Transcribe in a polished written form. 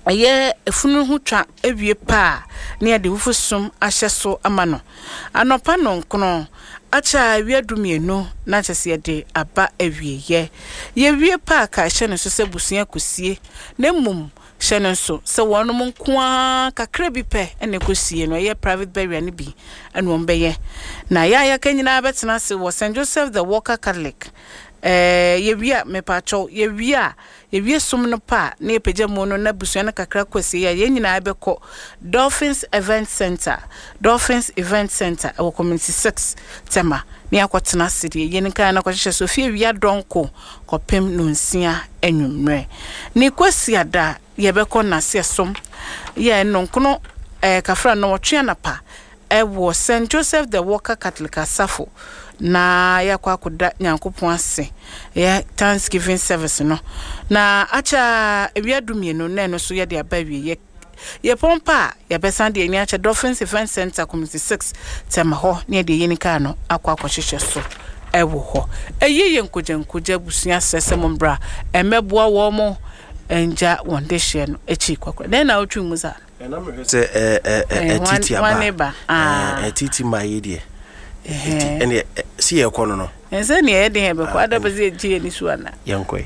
Ɛyɛ efunu ho twa wie pɛ a, na yɛde wufusom ahyɛ so ama no. Anɔpa nnɔnkron, akyɛ a awia dumienu na kyerɛ sɛ yɛde aba awieɛ. Yɛwie pɛ a, ka hyɛ no nso sɛ abusua kɔsie, na mmom hyɛ no nso sɛ wɔnom nko ara kakra bi pɛ na ɛkɔsie no, ɛyɛ private burial no bi na wɔbɛyɛ. Na yɛ a yɛaka nyinaa bɛtena ase wɔ St. Joseph the Worker Catholic. Ɛɛ, yɛwie a, mepaakyɛw, yɛwie a, Yɛwie som no pɛ a, na yɛpagya mu no na abusua no kakra kɔ asieeɛ a, yɛn nyinaa bɛkɔ Dolphins Event Centre, Dolphins Event Centre, ɛwɔ Community 6, Tema, na yɛakɔtena ase deɛ yɛn kan no akɔhyehyɛ so fie awia dɔnko kɔpem nonsia anwummerɛ. Ne Kwasiada yɛbɛkɔ Naseɛ som, yɛ nnɔnkono ɛɛ kafra nnɔnwɔtwe anapa wɔ Saint Joseph the Worker Catholic Asafo na yɛakɔ akɔda Nyankopɔn ase, yɛ Thanksgiving service no, na akyɛ ara awia dumienu na ɛno nso yɛde aba awieɛ. Yɛpɔn pɛ a, yɛbɛsan de ani akyɛ Dolphins Event Centre, Community 6, Tema hɔ na yɛde yɛn kaa no akɔ akɔhyehyɛ so wɔ hɔ. Ɛyi yɛ nkogyankogya abusua srɛ sɛ mommra mmɛboa wɔn ngya wɔn dehyeɛ no akyi kwakora. Dɛn na wotwe mu saa? Ɛna mehwɛ sɛ ɛtiti aba ɛtiti ma yi deɛ ɛti ɛne si yɛ kɔ no no. Ɛsɛ nea ɛyɛ den yɛ bɛkɔ ada bɛ sɛ yɛgye yɛn ani so ana. Yɛn kɔ yi.